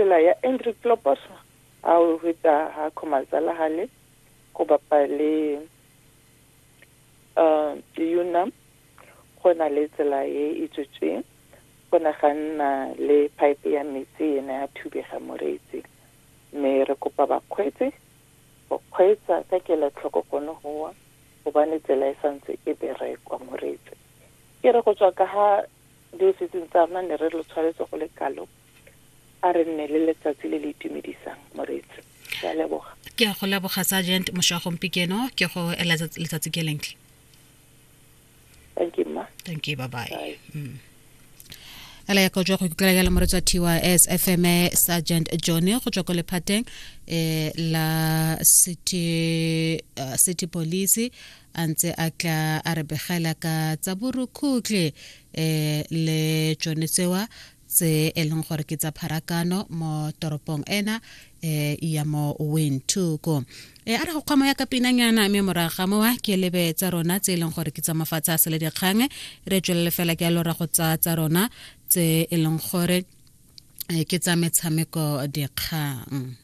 tsela ya Andrew Kloppers ha o feta ha Khomazala hale go bapa le um Unam go na le tsela e e tswetsweng go ne ga nna le pipe ya metsi e ne ya thubega moreetsi mme re kopa bakgweetsi go kgweetsa ka kelotlhoko gone goa gobane tsela e santse e berekwa moreetsi ke re go tswa ka ha diofising tsa rona ne re lo tshwaretse go le kalo a re nne le letsatsi le le itumedisang moreetsi ke a leboga ke a go leboga sergeant mošwa gompikeno ke go ela letsatsi ke lentle thank you ma thank you bye bye, bye. Mm. ela ya go jwa go ikutlwela jalo moretsi wa tys fm sergeant johnny go tswa ko lephateng eh la city uh, city police a ntse a tla a re begela ka tsa borukhutlhi eh le tsone tsewa tse e leng gore ke tsa pharakano mo toropong ena eh ya mo Windhoek e a re go kgwamo ya ka pinanyana mme morago ga mowa ke lebe tsa rona tse e leng gore ke tsa mafatshe a sele dikgang re tswelele fela ke a lora go tsa tsa rona tse e leng gore ke tsa metshameko dikgang.